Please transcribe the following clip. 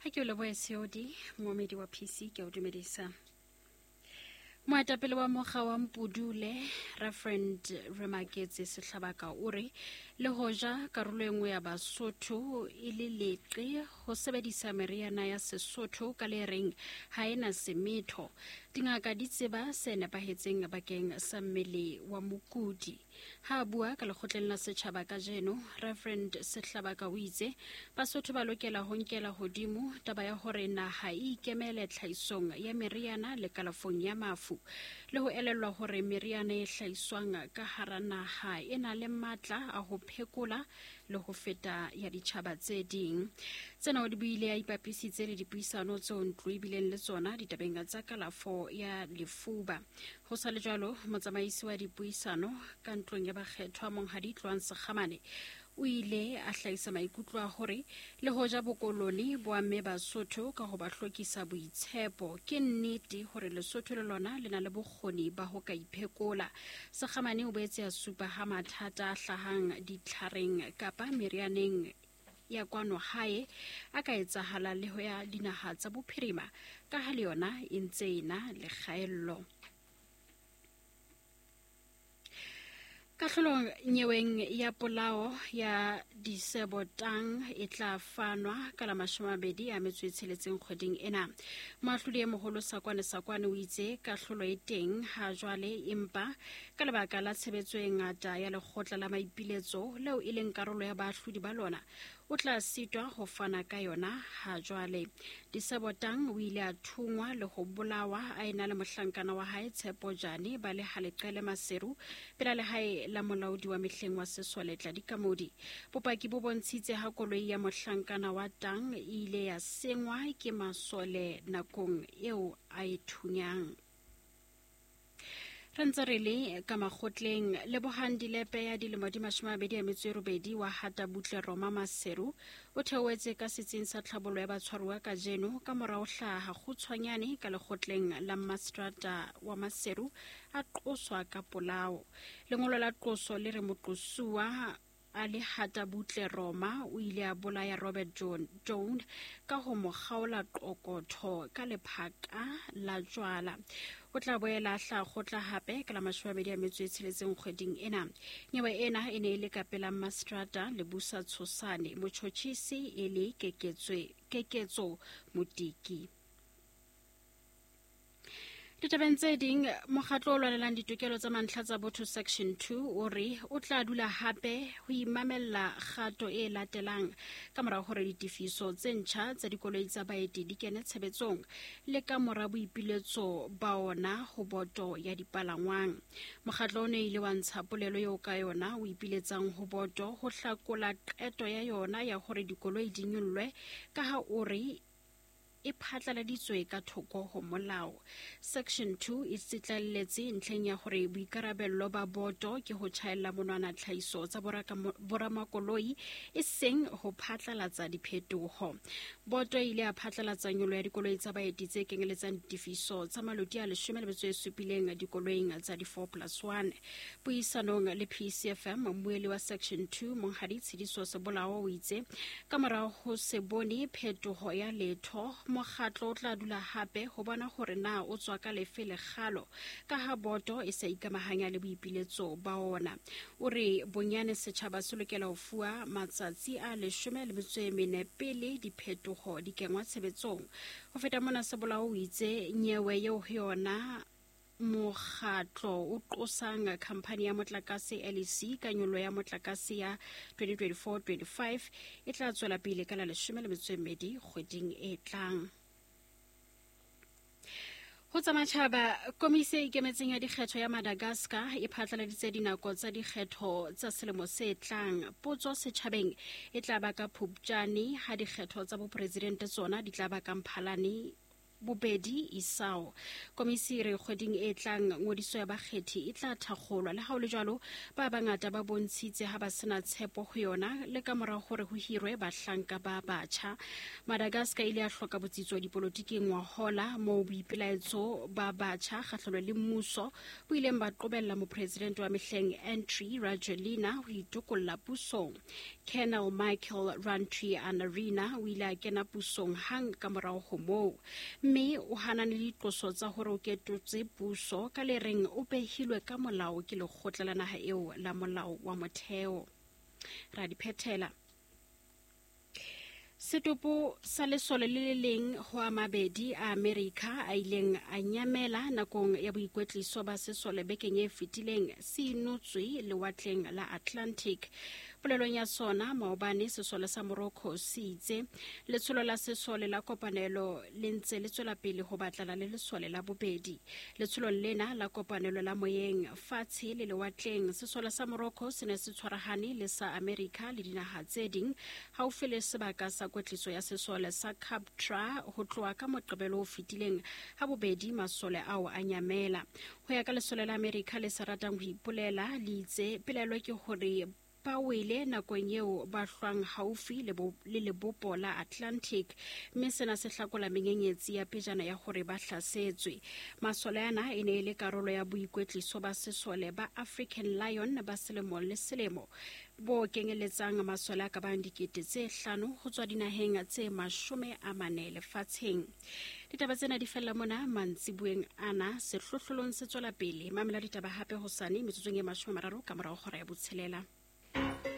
Ha ke o lebohe Seodi, moomedi wa PC, ke a o dumedisa. Moetapele wa mokga wa Mpudule, Reverend Remaketse Sehlabaka o re le hoja karolo e nngwe ya Basotho e le leqe ho sebedisa meriana ya Sesotho ka le reng ha e na semetho, dingaka di tseba se nepahetseng bakeng sa mmele wa mokudi. Ha a bua ka lekgotleng la setjhaba kajeno, Reverend Sehlabaka o itse Basotho ba lokela ho nkela hodimo taba ya hore naha e ikemele tlhahisong ya meriana le kalafong ya mafu, le ho elellwa hore meriana e hlahiswang ka hara naha e na le matla a ho phekola le ho feta ya ditjhaba tse ding. Tsena o di buile a ipapisitse le dipuisano tseo ntlo e bileng le tsona ditabeng tsa kalafo ya lefuba. Ho sa le jwalo, motsamaisi wa dipuisano ka ntlong ya bakgethwa Monghadi Tloang Sekgamane o ile a hlahisa maikutlo a hore le hoja bokolone bo amme Basotho ka ho ba hlokisa boitshepo, ke nnete hore Lesotho le lona le na le bokgoni ba ho ka iphekola. Sekgamane o boetse a supa ha mathata a hlahang ditlhareng kapa merianeng ya kwano hae a ka etsahala le ho ya dinaha tsa bophirima ka ha le yona e ntse e na le kgaello. Kahlolo nyeweng ya polao ya Disebo Tang e tla fanwa ka la 26 kgweding ena. Moahlodi e moholo Sakwane Sakwane o itse kahlolo e teng ha jwale, empa ka lebaka la tshebetso e ngata ya lekgotla la maipiletso leo e leng karolo ya baahlodi ba lona, o tla sitwa ho fana ka yona ha jwale. Disebo Tang o ile a thungwa le ho bolawa a ena le mohlankana wa hae Tshepo Jane ba le Haleqele Maseru pela lehae la molaodi wa mehleng wa sesole Tladi Kamodi. Bopaki bo bontshitse ha koloi ya mohlankana wa Tang e ile ya sengwa ke masole nakong eo a e thunyang. Re ntse re le ka makgotleng. Lebohang Dilepe ya dilemo di 28 wa Hata Butle Roma Maseru o theohetse ka setsing sa tlhabollo ya batshwaruwa kajeno ka mora ho hlaha kgutshwanyane ka lekgotleng la mmaseterata wa Maseru a qoswa ka polao. Lengolo la qoso le re moqosuwa A le hata butle Roma, o ile a bolaya Robert John, Joan ka ho mo kgaola qokotho ka lephaka la jwala. O tla boela a hla kgotla hape ka la 26 kgweding ena. Nyewe ena e ne e le ka pela Mmaseterata Lebusa Tshosane, motjhotjhisi e le Keketso Motiki. Ditabeng tse ding, mokgatlo o lwanelang ditokelo tsa mantlha tsa botho Section 2 o re o tla dula hape ho imamella kgato e latelang ka mora hore ditefiso tse ntjha tsa dikoloi tsa baeti di kene tshebetsong le ka mora boipiletso ba ona ho boto ya dipalangwang. Mokgatlo o ne ile wa ntsha polelo eo ka yona o ipiletsang ho boto ho hlakola qeto ya yona ya hore dikoloi di nyollwe ka ha o re e phatlaladitswe ka thoko ho molao. Section 2 e tsitlalletse ntlheng ya hore boikarabello ba boto ke ho tjhaella monwana tlhahiso tsa boramakoloi e seng ho phatlalatsa diphetoho. Boto e ile ya phatlalatsa nyolo ya dikoloi tsa baeti tse kenyeletsang ditefiso tsa maloti a 17 dikoloing tsa di 4 plus 1. Puisanong le PCFM, mmueli wa Section 2 Monghadi Tshidiso Sebolao o itse ka mora ho se bone phetoho ya letho, mokgatlo o tla dula hape ho bona hore na o tswa ka lefe lekgalo ka ha boto e sa ikamahanya le boipiletso ba ona. O re bonyane setjhaba se lokela ho fuwa matsatsi a 14 pele diphetoho di kengwa tshebetsong. Ho feta mona, Sebolao o itse nyewe eo ho yona Mokgatlo o qosang khamphani ya motlakase LEC ka nyollo ya motlakase ya 2024-25 e tla tswela pele ka la 12 kgweding e tlang. Ho tsa matjhaba, komisi e ikemetseng ya dikgetho ya Madagascar e phatlaladitse dinako tsa dikgetho tsa selemo se tlang. Potso setjhabeng e tla ba ka Phupjane ha dikgetho tsa bopresidente tsona di tla ba ka Mphalane Bobedi Isao. Komisi e re kgweding e tlang ngodiso ya bakgethi e tla thakgolwa. Le ha ho le jwalo, ba bangata ba bontshitse ha ba sena tshepo ho yona le ka mora hore ho hirwe bahlanka ba batjha. Madagascar ile ya hloka botsitso dipolotiking ngwahola moo boipelaetso ba batjha kgahlano le mmuso bo ileng ba qobella mopresidente wa mehleng Andry Rajoelina ho itokolla pusong. Colonel Michael Randrianirina o ile a kena pusong hang ka morao ho moo, mme o hanane le diqoso tsa hore o ketotse puso ka le reng o behilwe ka molao ke lekgotla la naha eo la molao wa motheo. Ra di phethela. Setopo sa lesole le le leng ho a mabedi a Amerika a ileng a nyamela nakong ya boikwetliso ba sesole bekeng e fetileng se inotswe lewatleng la Atlantic. Polelong ya sona maobane, sesole sa Morocco se itse letsholo la sesole la kopanelo le ntse le tswela pele ho batlana le lesole la bobedi. Letsholong lena la kopanelo la moyeng, fatshe le lewatleng, sesole sa Morocco se ne se tshwarahane le sa Amerika le dinaha tse ding haufi le sebaka sa kwetliso ya sesole sa Captra ho tloha ka Moqebelo o fetileng ha bobedi masole ao a nyamela. Ho ya ka lesole la Amerika le sa ratang ho ipolela, le itse pelaelo ke hore ba wele nakong eo ba hlwang haufi le lebopo la Atlantic, mme sena se hlakola menyenyetsi ya pejana ya hore ba hlasetswe. Masole ana e ne e le karolo ya boikwetliso ba sesole ba African Lion ba selemo le selemo bo kenyeletsang masole a ka bang 5,000 ho tswa dinaheng tse 40 lefatsheng. Ditaba tsena di fella mona mantsibueng ana. Sehlohlolong se tswela pele. Mamela ditaba hape hosane metsotsong e 30 ka morao hora ya 6.